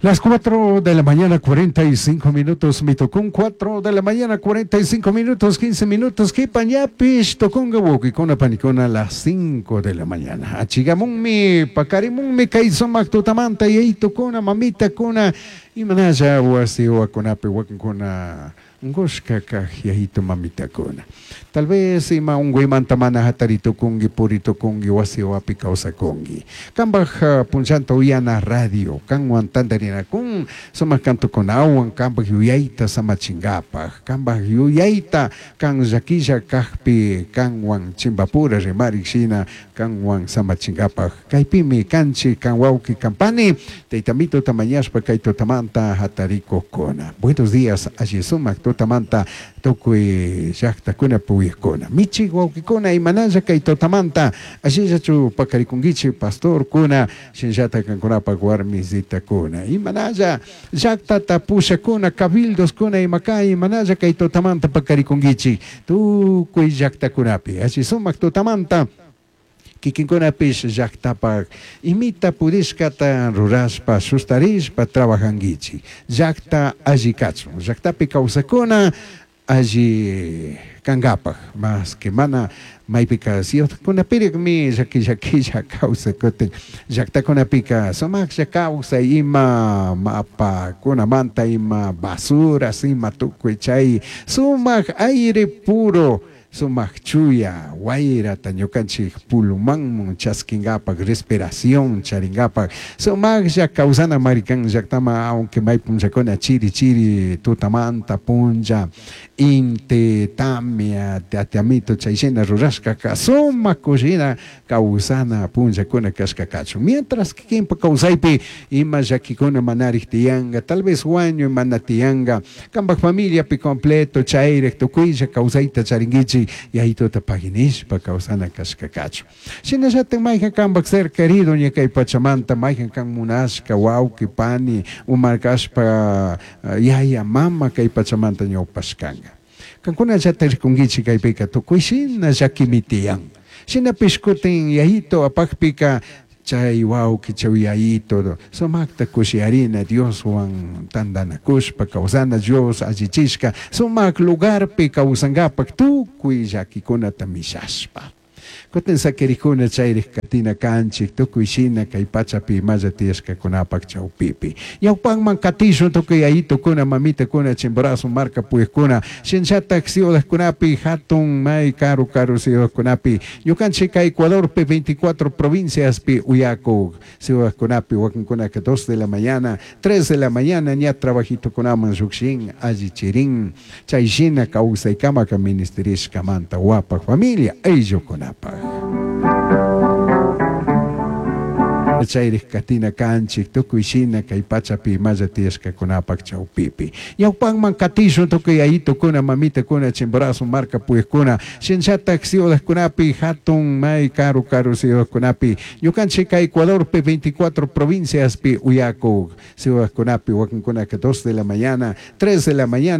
Las 4 de la mañana, 45 minutos, mitocún 4 de la mañana, 45 minutos, 15 minutos, kipañapish, toconga wokikuna panikuna, las 5 de la mañana. Achigamunmi, pakarimunmi, kay sumak tutamanta, yaytukuna, mamitakuna, imanalla wasi wakunapi wakinkuna, unkushka kaj yayitu mamitakuna. Tal vez ima unkuymanta mana hataritukunki, puritukunki, wasi wapi kawsakunki. Kambaj punllanta uyana radio, kanwan tantarinakun, sumak kantukunawan, kambaj yuyayta samachinkapak, kambaj yuyayta kan llakilla kajpi kanwan chimpapura rimarik shina kanwan samachinkapak. Kaypimi kanchik, kan wawki, kan pani, tayta mituta mañashpa kay tutamanta hatarikukkuna. Buenos días, alli sumak tutamanta tukuy llaktakuna puyakuna. Michik wawkikuna imanalla kay tutamanta allillachu pakarikunkichik pastorkuna, shinallata kankunapak warmisitakuna. Imanalla llaktata pushakuna, cabildoskuna imaka imanalla kay tutamanta pakarikunkichik tukuy llaktakunapi. Alli sumak tutamanta kikinkunapish llaktapak imita pudishkata rurashpa sustarishpa trabajankichik. Llakta alli kachun, llaktapi kawsakuna alli kankapak, mas que mana maypika ciudadkunapirikmi llaki llakilla kawsakutin llaktakunapika sumaklla kawsay ima mapakunamanta ima basuras ima tukuy chay sumak aire puro sumak chuya wayrata ñukanchik pulmonman chaskinkapak respiración charinkapak sumaklla kawsana marikan llaktama aunque may punllakuna chiri chiri tutamanta punlla inti tamia tatiamito chayshina rurashkaka sumak kushina kawsana punllakuna kashka kachun mientras kikinpa kawsaypi ima llakikuna manarik tiyanka tal vez wañuy mana tiyanka kampak familiapi completo chayrik tukuylla kawsayta charinkichik yayituta paginishpa kawsana kashka kachun. Shinallatak mayjan kanpak ser querido ña kay pachamanta mayjan kan munashka wawki pani umarkashpa yaya mama kay pachamanta ñawpashkanka. Kankunallata rikunkichik kaypika tukuy shina llakimi tiyan. Shinapish kutin yayito apakpika chay wawki chay yayito sumakta kushiyarina Dioswan tantanakushpa kawsana Dios allichishka sumak lugarpi kawsankapak tukuy llakikunata mishashpa. Kutin sakirikuna chayrik katina kanchik tukuy shina kay pachapi imalla tiyashkakunapak chawpipi. Ñawpanman katishun tukuy yayitukuna mamitakuna Chimborazo marka puyukuna shinallatak ciudadkunapi hatun may karu karu ciudadkunapi ñukanchik kay Ecuadorpi 24 provinciaspi uyakuk ciudadkunapi wakinkunaka 2 de la mañana 3 de la mañana ña trabajitukunaman llukshin allichirin chay shina kawsaykamaka ministerishkamanta wapak familia ayllukunapak. Chayrik katina kanchik tukuy shina kay pachapi imalla tiyashkakunapak chawpipi. Ñawpanman katishun tukuy yayitukuna mamitakuna Chimborazo marka puyukuna shinallatak ciudadkunapi hatun may karu karu ciudadkunapi ñukanchik kay Ecuadorpi 24 provinciaspi uyakuk ciudadkunapi wakinkunaka 2 de la mañana 3 de la mañana.